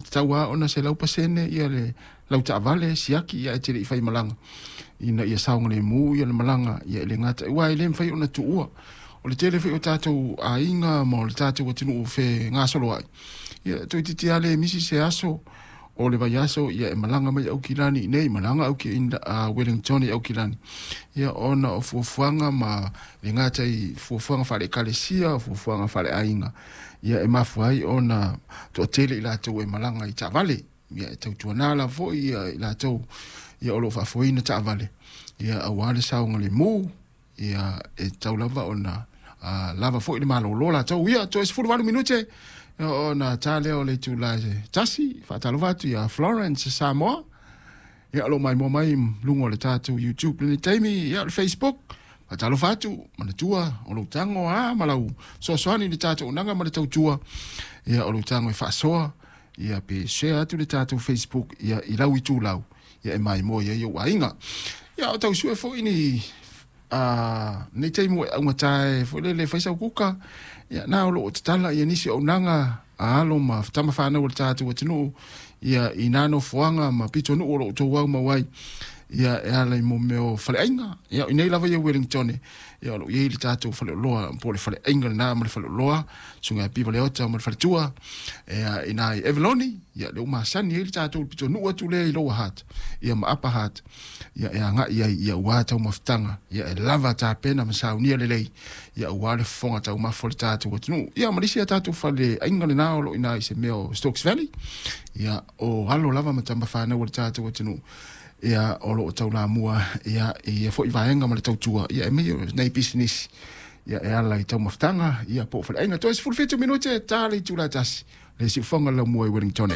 tatau lava ona 100% le lau taavale siaki, ia, ae te le i faimalaga ina ia saogalemu le malaga, ia, e le gata aua e le mafai ona tuua. O le tele foi o tatou aiga ma o le tatou atunuu fegasoloai, ia, toeitiiti lava le misi se aso o le vaiaso, ia, e malaga mai Aukilani i nei, malaga Wellington i Aukilani, ia, ona o fuafuaga ma le gata i fuafuaga faale-ekalesia, fuafuaga faale-aiga, ia, e mafua ai ona toatele i latou e malaga i taavale. Ia, e tautuana lava foi ia i latou, ia, o lo o faafoeina taavale, ia, aua le saogalemu, ia, e tatau lava ona lava foi le malolo latou. Ia, toe 18 minute ona ta lea o le itula e 1. Faatalofa atu ia Florence Samoa, ia, o lo o maimoa mai luga o le tatou YouTube lenei taimi, ia, o le Facebook. Faatalofa atu, manatua o lou tago a ma lau fesoasoani i le tatou auaunaga ma le tautua, ia, o lou tago e faasoa, ia, pe share atu le tatou Facebook, ia, i lau itulau, ia, e maimoa i ai ou aiga. Ia, o tau sue foi ni nei taimi ua e augata e foi lele fai sau kuka, ia, na o loo tatala ia nisi o auaunaga a alo ma tama fanau o le tatou atunuu, ia, i nā nofoaga ma pitonuu o loo outou aumau ai, ia, e ala i mo mea o faleaiga. Ia, i nei lava ia Wellington, ia, o loo i ai le tatou faleoloa po o le faleaiga lena ma le faleoloa susuga ia Piva Leota ma le faletua, ia, ina i Avalone, ia, lea ua masani ai le tatou pitonuu atu lea i Lower Hutt, ia, ma Upper Hutt, ia, e agai ai, ia, aua taumafataga, ia, e lava tapena ma saunia lelei, ia, aua le fofoga taumafa o le tatou atunuu. Ia, ma le isi a tatou faleaiga lena o loo ina i se mea o Stokes Valley, ia, o alo lava ma tama fanau o le tatou atunuu, ia, o loo taulamua, ia, i ia foi vaega ma le tautua, ia, e mei nei pisinisi, ia, e ala i taumafataga, ia, po o faleaiga. Toe 17 minute ta le itula e 1 le siufoga laumua i Wellington.